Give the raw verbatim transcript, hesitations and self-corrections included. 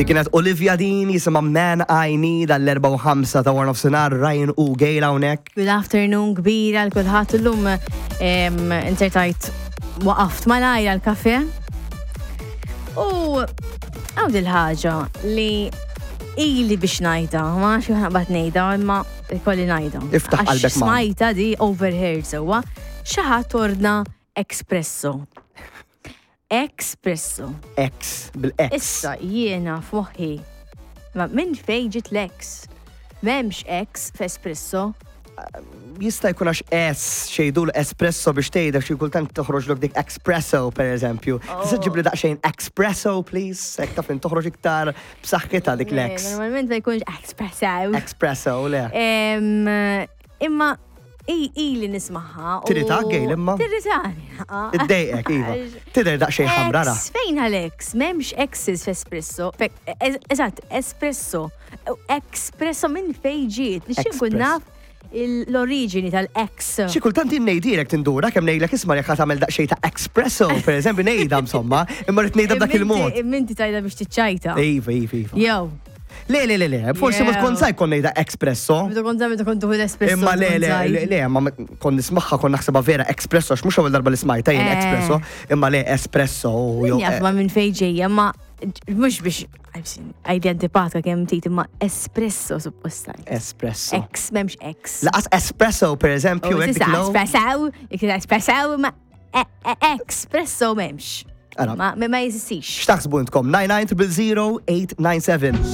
Dik kienet Olivia Dean, jisimha Man I Need, għall-erbgħa u ħamsa ta' waranofsinhar, Ryan u Gail hawnhekk. Good afternoon kbira lil kulħadd. Illum inzertajt waqaft malajr għal-kafe. U hawn dil-ħaġa li ili biex ngħidha, ma nafx kif naqbad ngħidha, imma kolli ngħidha. Iftaħ Għax qalbek magħna. Smajta di overheard sewwa, xi ħadd ordna espresso. Espresso. X, bil-X. Issa jiena f'moħħi. Ma minn fejn ġiet l-X? M'hemmx X f'espresso. Jista' jkun għax S xejdu l-espresso biex tgħidha, xi kultant toħroġlok dik espresso, per eżempju. Tista' ġibli daqsxejn espresso, please? Hekk taf toħroġ iktar b'saħħitha dik l-X. Normalment ma jkunx espresso. Espresso, le. Em, Imma i- ili nismagħha. u- Tirritak, Gail, imma? Tirritani. Iddejqek, iva. Tidher daqsxejn ħamra ra. X, fejn għal-X? M'hemmx X's f'espresso. Fe- ez- Eżatt, espresso. Espresso minn fejn ġiet? Nixtieq nkun Espresso. naf il- l-oriġini tal-X. Xi kultant jien ngħidilek, tindura kemm ngħidlek, "Isma', jekk tagħmel daqsxejn ta' espresso," per eżempju, ngħidha insomma, imma rrid ngħidha b'dak il-mod. Imma inti tgħidha biex tiċċajta. Iva, iva, iva. Jew, Le, le, le, le, forsi ma Jew. tkun sajt kon ngħidha espresso. Meta kont meta kont tuħu l-espresso. Imma le, tkun le, żgħir. le, le, ma kon nismagħha, kon naħsebha vera espresso, għax mhux ewwel darba li smajta jien Eh. espresso, imma le, espresso. Jew- Min jaf ma minn fejn ġejja, ma mhux biex għajdi antipatika kemm tit, imma espresso supposta. Espresso. X, m'hemmx X. Lanqas espresso, per eżempju, U hekk tista' dik low. espresso, jekk espresso, ma e- e- espresso m'hemmx. Ara. Ma ma jeżistix. X'taħsbu intkom? nine nine zero zero eight nine seven.